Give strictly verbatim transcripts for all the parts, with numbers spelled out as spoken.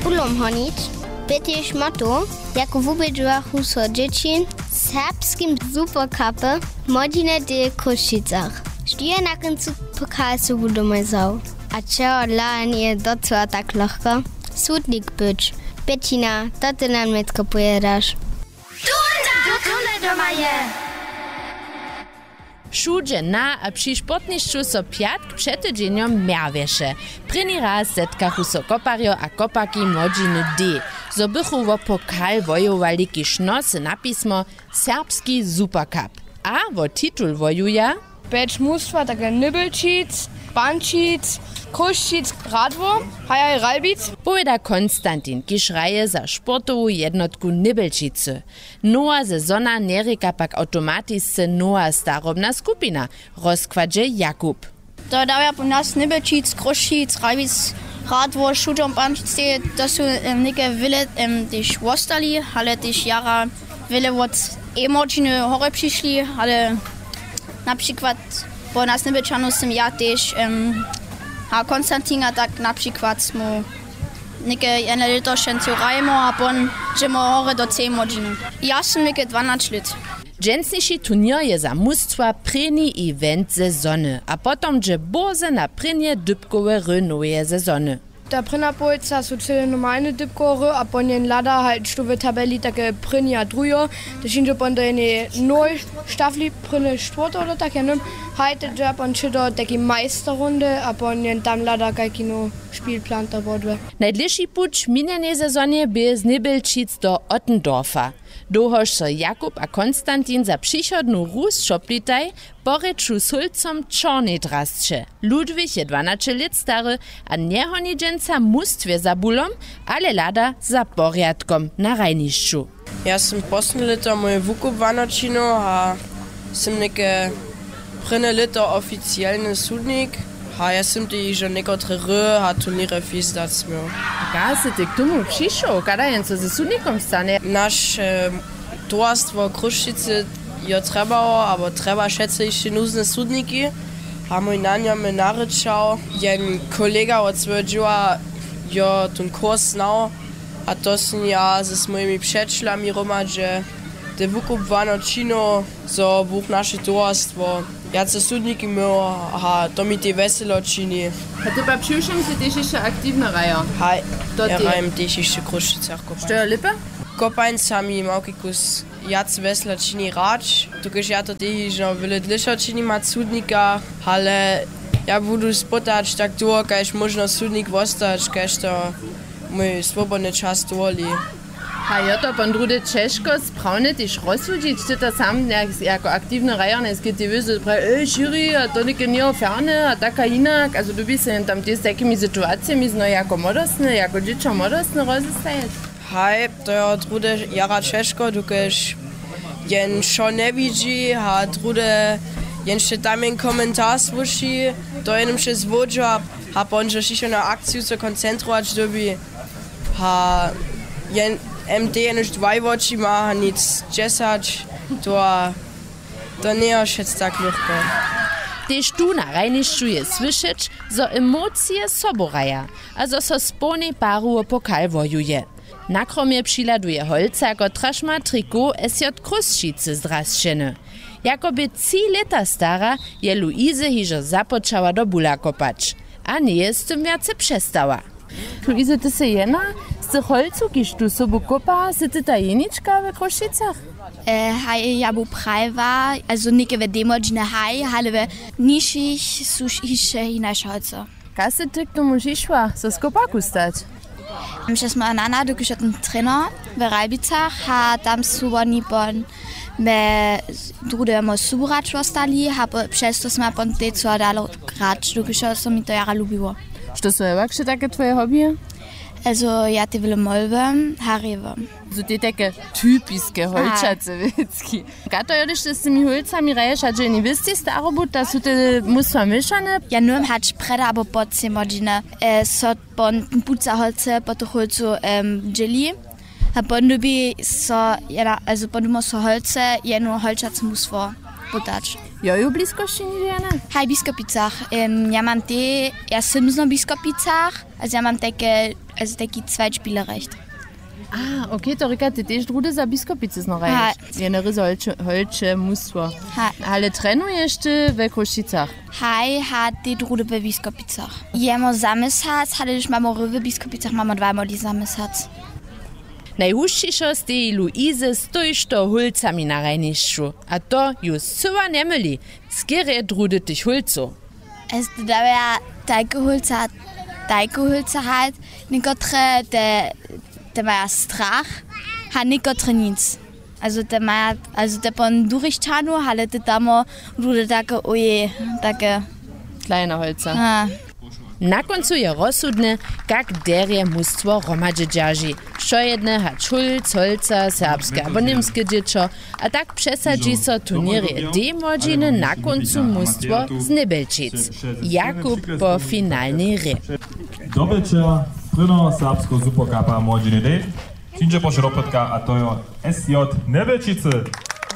Kulom honić bě tež moto, jako wubědźowachu so dźěći w serbskim supercupy młodźiny w Chrósćicach. Štó je na kóncu pokal sobu domoj wzał? A čehodla njeje docyła tak lochko sudnik być? Pětina, to ty nam nětko powědaš. Tule doma je. Wšudźe na a při sportnišću so pjatk před tydźenjom mjerwješe. Prěni raz zetkachu so koparjo a koparki młodźiny D, zo bychu wo pokal wojowali, kiž nosył napismo Serbski Supercup. A wo titul wojuja Pjeć mustwa, tak je Nybelčic, Pančic, Chrósćic, Radwor, hajaj Ralbic. Powěda Konstantin, kiž hraje za sportowu jednotku Nybelčicy. Nowa sezona njerěka pak awtomatisce nowa starobna skupina, rozkładźe Jakub. To dawja po nas Nybelčic, Chrósćic, Ralbic, Radwor, Šudom, Pančic, to su em, něke wjele em, tež wostali, ale tež jara wjele wot ej młodźiny horje přišli, ale na přikład po nas Nybelčanow sym ja tež em, a Konstantin a tak na přikład smy něke jedne lěto šencu hrajemo a pon dźemo horje do třej młodźiny. Ja sym něke dwanać lět. Dźensniši turněr je za mustwa prěni event sezony a potom dźe bórze na prěnje dypkowe hry noweje sezony. Ta prěnja połojca su cyle normalne dypkowe hry a pon jen hlada haj što w tabeli take prěni a druhi, to hińdźe pon do jenej nowej štafli prěnje štwórte do tak jenym, haj te dźe pon će do takiej majsterrundy a pon jen tam hlada kajki nowy špilplan to wodłe. Najdlěši puć w minjenej sezonje bě z Nybelčic do Ottendorfa. Dołhož so Jakub a Konstantin za přichodnu hru šoplitaj, po rěču z hólcom čornej drasće. Ludwig je dwanaće lět stary a njehoni dźensa w mustwje za bulom, ale hlada za porjadkom na hrajnišću. Ja sym poslednje lěto mój wukubłano činił a sym něke prěnje lěto oficielny sudnik. A ja sym tež hižo někotre hry a turněry fizdac měł. Kaž sy ty k tomu přišoł, kada jen so ze sudnikom stanje? Naše towarstwo Chrósćicy jo trjebało abo trjeba wšetcy hišće nuzne sudniki. A mój nanjo mje narěčał, jen kolega wot swojho dźěła jo tón kurs znał. A to sym ja z mojimi přećelami hromadźe te wukubłano činił, zo buch naše towarstwo wjace sudniki měło. A to mi tej wjeselo čini. A ty pak přiwšěm sy tež hišće aktiwny hrajo? Haj. To ja hrajem tež hišće w Chrósćicach kopań. Što je lěpe? Kopań sami małki kus wjac wjesela čini hrać, dokelž ja to tež hižo wjele dlěšo činim hač sudnika, ale ja budu spotać tak dołho kaž móžno sudnik wostać, kaž to mój swobodny čas dowoli. A jo to pon druhdy ćežko sprawne tež rozsudźić? Ty to sam jako aktiwny hrajer njejskež ty wězy praji ej šěri a to něke njeho ferne a tak a hinak a zo dyrbi so jen tam tež z tajkimi situacijemi znow jako młodostny jako dźěćo młodostny rozestajeć? Haj, to jo druhdy jara ćežko, dokelž jen wšo njewidźi a druhdy jen sće tam jen komentar słyši, to jen wšo zwódźo a pon dźe hišće na akciju so koncentrować dyrbi. A jen md jenož dwaj woči ma a nic dźesać, to a to njejo wšec tak lóchko. Tež tu na hrajnišću je słyšeć, zo emocije sobu hraja a zo so z połnej paru wo pokal wojuje. Na kromje přihladuje holca, kotraž ma trikot sj chrósćicy zdrasćeny. Jako bě tři lěta stara, je luize hižo započała do bula kopać a njeje z tym wjace přestała. Luize, ty sy jedna z tych holcow kiž tu sobu kopa, sy ty ta jenička we chrósćicach? Haj, ja bu prajiła, azo něke we dej młodźiny haj, ale we nižšich su hišće hinaše holco. Kaž sy ty k tomu přišła so z koparku stać? Přez moja nana dokelž je ten trener w ralbicach a tam su woni pon mje druhdy mój subrač wostali a přez to smy pon tež so dalo grać dokelž so mi to jara lubiło. Što su hewak wšetake twoje hobbyje? Azo ja te wjele molbym a hrěbym. Su te tajke typiske holčace wěcki? Kaž to jo hdyž ty z tymi hólcami hraješ a dźe jeni wěsti starobu ta su te mustwa měšane? Ja nymam hač prjedy abo po třej młodźiny so pon puca holce po tych hólcow dźěli a pon dyrbi so jena azo pon dyrbimo so holce jeno holčace mustwo putać. Jo ju w bliskosći nižo jene? Haj w biskopicach. Ja mam te ja sym znow w biskopicach. Azo ja mam tajke Also taki Zweitspielrecht. A, okay, to rěka, ty tež druhdy za Biskopicy znohraješ. Ha. Jene ryzy holče, holče mustwo. Ha. Ale trenuješ ty we Chrósćicach? Haj, ha, ty druhdy we Biskopicach. Jemo za měsac, ale hdyž mamy hry we Biskopicach, mamy dwaj młodi za měsac. Najhušćišo steji Luize z tójšto hólcami na hrajnišću. A to ju scyła njemyli, skerje druhdy tych hólcow. Es dawja tajke hólca, tajke hólca halt, někotre te, te maja strach, ha někotre nic. Also te maja, also te pon durich tanu, ale te tamo druhdy take oje, take. Kleine holca. Ha. Na kóncu je rozsudne, kak derje mustwo hromadźe dźerži. Wšojedne, hač hólc, holca, serbske abo němske dźěćo, a tak přesadźi so turněrje D młodźiny na kóncu mustwo z Njebjelčic. Jakub po finalnej hrě. Dobelčer prěno serbsko superkapa młodźiny D přińdźe prošu do pytka, a to jo S J Njebjelčicy.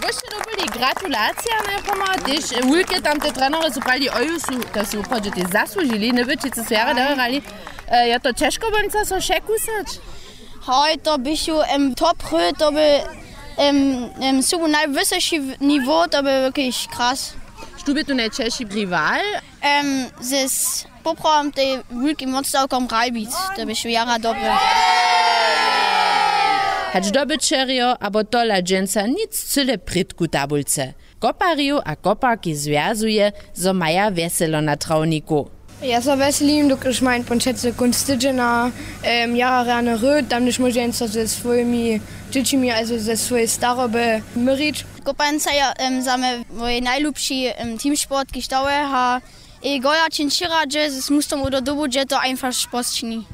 Wyše dobyli, gratulacija najprjema, tež wulke tam te trenery su prali, oju su, to su woprawdźe tež zasłužili, Njebjelčicy su jara dohrali. E, je to ćežko wonca so překusać? Hoj, to běchu em, top hry, to by em, em, su najwysoši w- nivo, to by wirklich krass. Štó bě tu najćežši riwal? Em, z poprawom tej wulkim wotstawkom Ralbic, to běchu jara dobry. Hač dobyćerjo abo tola dźensa nic cyle prědku tabulce. Koparjow a koparki zwjazuje, zo maja wjeselo na trawniku. Ja so wjeselim, dokelž mają pon přecy kónc tydźena em, jara rjane hry, tam hdyž móže jen so ze swójimi dźěćimi, also ze swójej staroby myrić. Kopańca je em, za mnje mój najlubši em, teamsport, kiž dałe, ha ej gola čin přiradźe z mustom do dobu, dźe to einfach posćini.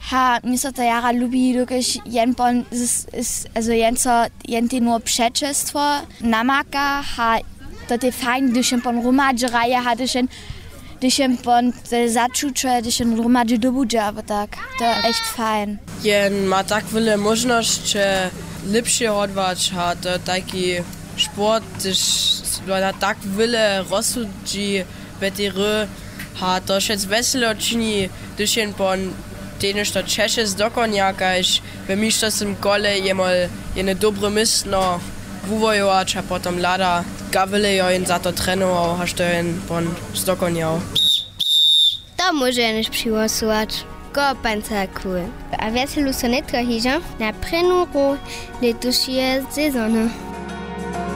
Ha, mi so to jara lubi, dokelž jen pon z- z- also jen so jen te nur přećelstwo namaka, ha to te fajn, hdyž jen pon hromadźe hraje, ha hdyž jen hdyž jen pon te začuće, hdyž jen hromadźe dobudźe abo tak, to je echt fajn. Jen ma tak wjele móžnosće lěpše hodłać, a to tajki sport, hdyž na tak wjele rozsudźi we tej hry, a to wšec wjeselo čini, hdyž jen pon tej něšto ćeše zdokonja, kaž we mišćowsym kole je mol jene dobre městno wuwojować a potom hlada, kak wjele jo jen za to trenował, haž to jen pon zdokonjał. To móže jenož přihłosować. Kopańca cool. A wjeselu so nětko hižo na prěnu hru lětušeje sezony.